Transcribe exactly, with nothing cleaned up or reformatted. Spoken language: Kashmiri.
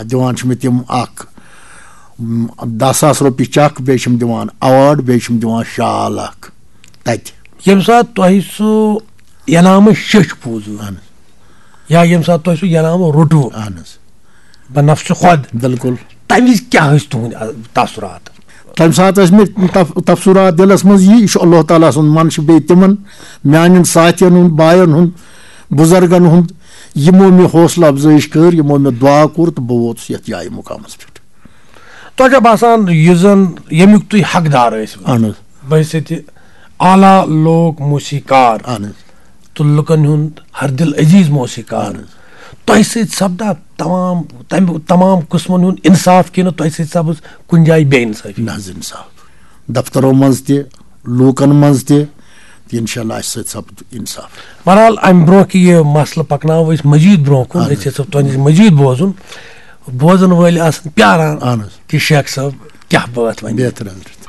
دِوان چھِ مےٚ تِم اکھ، م، دَہ ساس رۄپیہِ چَک، بیٚیہِ چھِم دِوان ایوارڈ، بیٚیہِ چھِم دِوان شال اکھ تَتہِ۔ ییٚمہِ ساتہٕ تۄہہِ سُہ انعامہٕ شیٚچھ بوٗزوٕ، اہن یا ییٚمہِ ساتہٕ تۄہہِ سُہ انعامہٕ روٚٹوٕ، اہن حظ، بہ نفسِ خۄد، بِلکُل۔ تَمہِ وِزِ کیٛاہ ٲسۍ تُہٕنٛدۍ، آ، تاثرات؟ تَمہِ ساتہٕ ٲسۍ مےٚ تف-، تفسُرات دِلَس منٛز یی، یہِ چھُ اللہ تعالیٰ سُنٛد منشہٕ، بیٚیہِ تِمَن میٛانٮ۪ن ساتھیَن ہُنٛد، بایَن ہُنٛد، بُزرگَن ہُنٛد، یِمو مےٚ حوصلہٕ افزٲیِش کٔر، یِمو مےٚ دُعا کوٚر تہٕ بہٕ ووتُس یَتھ جایہِ مُقامَس پٮ۪ٹھ۔ تۄہہِ چھا باسان یُس زَن ییٚمیُک تُہۍ حقدار ٲسِو، اہن حظ، بحیثیت اعلیٰ لوک موسیقار اہن حظ۔ تہٕ لُکَن ہُنٛد ہر دل عزیز موسیقار، اہن حظ۔ تۄہہِ سۭتۍ سپدا تمام، تَمہِ تمام قٕسمَن ہُنٛد انصاف کِنہٕ تۄہہِ سۭتۍ سپٕز کُنہِ جایہِ بے انصٲفی؟ نہ حظ، انصاف۔ دفترو منٛز تہِ، لوٗکن منٛز تہِ، تہٕ انشاءاللہ اَسہِ سۭتۍ سپد انصاف۔ بہرحال، امہِ برونٛہہ کہِ یہِ مسلہٕ پکناوو أسۍ مزید برونٛہہ کُن، اہن حظ۔ أسۍ یژھو تۄہہِ نِش مزید بوزُن۔ بوزن وٲلۍ آسن پیاران اہن حظ۔ کہِ شیخ صٲب کیٛاہ بٲتھ ونہِ۔ بہتر حضرت۔